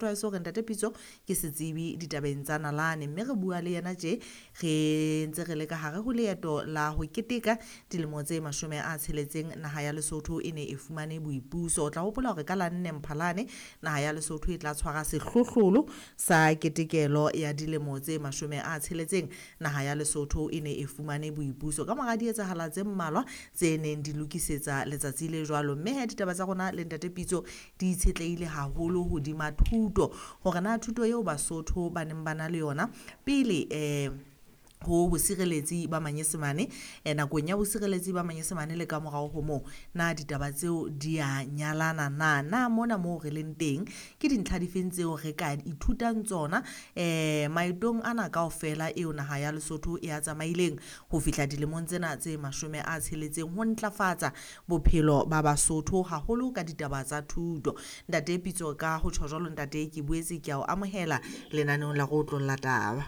Tlwaetso hore Ntate Pitso ke setsebi ditabeng tsa nalane, mme re bua le yena tje re ntse re le ka hare ho leeto la ho keteka dilemo tse 60 naha ya Lesotho e ne e fumane boipuso. O tla hopola hore ka la 4 Mphalane naha ya Lesotho e tla tshwara sehlohlolo sa ketekelo ya dilemo tse 60 naha ya Lesotho e ne e fumane boipuso ka mora dietsahala tse mmalwa tse neng di lokisetsa letsatsi le jwalo. Mme he ditaba tsa rona le Ntate Pitso di itshetlehile haholo hodima thuto, hore na thuto eo Basotho ba neng ba na le yona pele ho bosireletsi ba Manyesemane, nakong ya bosireletsi ba Manyesemane le ka morao ho moo, na ditaba tseo di a nyalana na? Na mona moo re leng teng ke dintlha difeng tseo re ka ithutang tsona maetong ana kaofela eo naha ya Lesotho e a tsamaileng ho fihla dilemong tsena tse 60 ho ntlafatsa bophelo ba Basotho haholo ka ditaba tsa thuto. Ntate Pitso, ka ho tjho jwalo ntate, ke boetse ke a o amohela lenaneong la Re Otlolla Taba.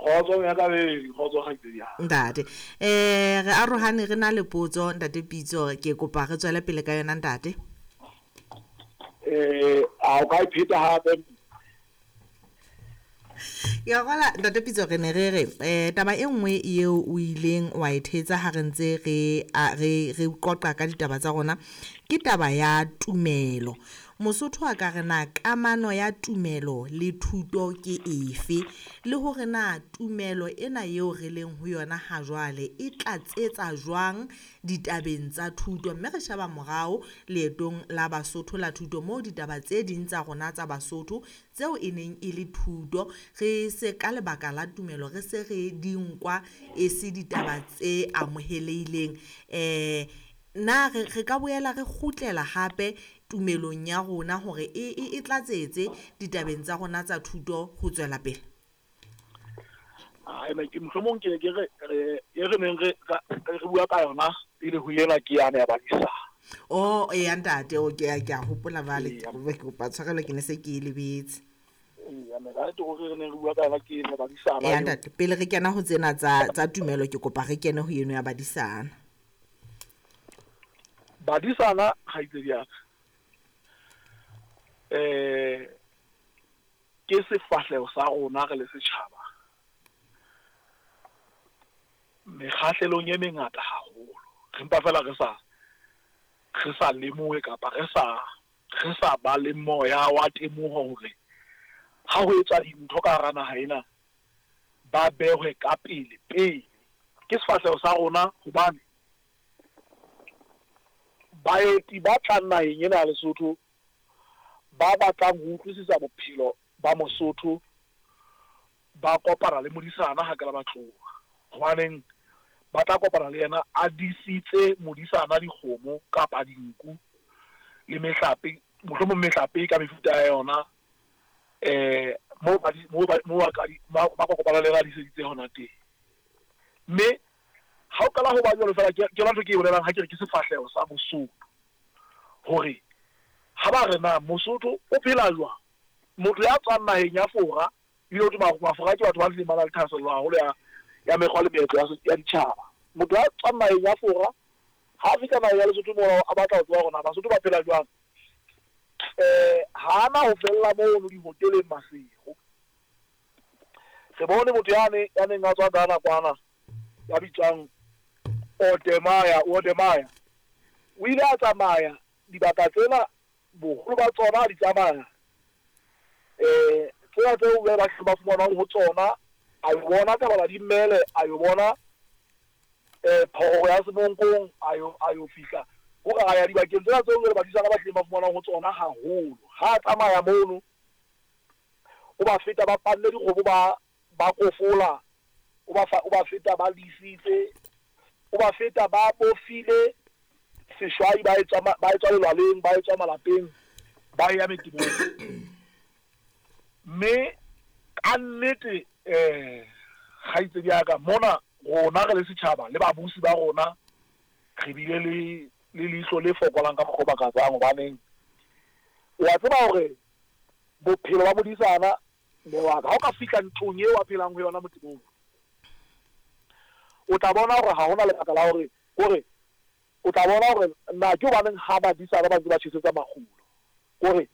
Kgotso ya ka be, kgotso kgaitsedi ya. Ntate, re arohane re na le potso Ntate Pitso, ke kopa re tswele pele ka yona ntate. A o ka e pheta hape? Ya gola Ntate Pitso, re ne re re taba e nngwe eo o ileng wa e thetsa ha re ntse re qoqa ka ditaba tsa rona ke taba ya tumelo. Mosotho a ka re na kamano ya tumelo le thuto ke efe, le hore na tumelo ena eo re leng ho yona ha jwale e tlatsetsa jwang ditabeng tsa thuto. Mme re sheba morao leetong la Basotho la thuto moo ditaba tse ding tsa rona tsa Basotho tseo e neng e le thuto re se ka lebaka la tumelo re se re di nkwa e se ditaba tse amohelehileng. Na re ka boela re kgutlela hape tumelong ya rona hore e tlatsetse ditabeng tsa rona tsa thuto ho tswela pele? Ai, ke mohlomong ke ke re e re neng re bua ka yona pele ho ena ke yane ya badisana. Oh, eya ntate, o ke a hopola jwale, ke kopa tshwarelo ke ne se ke e lebetse. Eya, me ka nnete re neng re bua ka yona ke ena ya badisana. Eya ntate, pele re kena ho tsena tsa tumelo ke kopa re kene ho eno ya badisana. Badisana kgaitsedi ya ka, ke sefahleho sa rona re le setjhaba mekgahlelong e mengata haholo. Re mpa fela re sa lemohe kapa re sa ba le moya wa temoho hore ha ho etswa dintho ka hara naha ena ba behwe ka pele pele. Ke sefahleho sa rona hobane baeti ba tlang naheng ena ya Lesotho ba batlang ho utlwisisa bophelo ba Mosotho ba kopana le modisana ha ke la ba tloha. Hobaneng ba tla kopana le yena a disitse modisana dikgomo kapa dinku le mehlape, mohlomong mehlape ka mefuta ya yona, moo ba kopana le yena a diseditse hona teng. Mme ha o qala ho ba jwalo fela, ke yona ntho ke e bolelang ha ke re ke sefahleho sa Mosotho, hore ha ba re na Mosotho o phela jwang, motho ya tswang naheng ya Fora, ebile ho thwe Mafora ke batho ba hlileng ba na le thahasello haholo ya mekgwa le meetlo ya ditjhaba. Motho ya tswang naheng ya Fora ha a fihla naheng ya Lesotho moo a batla ho tseba hore na Basotho ba phela jwang, ha ana ho fella mono dihoteleng Maseru. Re bone motho yane ya neng a tswa Ghana kwana ya bitswang Odemaya, o ile a tsamaya dibaka tsena boholo ba tsona di tsamaya, tsena tseo ba ba fumanwang ho tsona, a yo bona Thabana di Mmele, a yo bona Phororo ya Semonkong, a yo fihla hore a ya dibakeng tsena tseo jwale badisana ba hlileng ba fumanwang ho tsona haholo. Ha a tsamaya mono o ba feta ba panne dikgomo ba kofola, o ba feta ba lisitse, o ba feta ba bofile seshwai, ba etswa lelwaleng, ba etswa malapeng, ba ya metebong. Mme ka nnete kgaitsedi ya ka, mona rona re le setjhaba le babusi ba rona re bile le leihlo le fokolang ka mokgwa o makatsang. Hobaneng o a tseba hore bophelo ba modisana mme wa ka, ha o ka fihla ntlong eo a phelang ho yona motebong, o tla bona hore ha hona lebaka la hore kore o tla bona hore na ke hobaneng ha badisana ba ntse ba tjhesetsa makgulo. Kore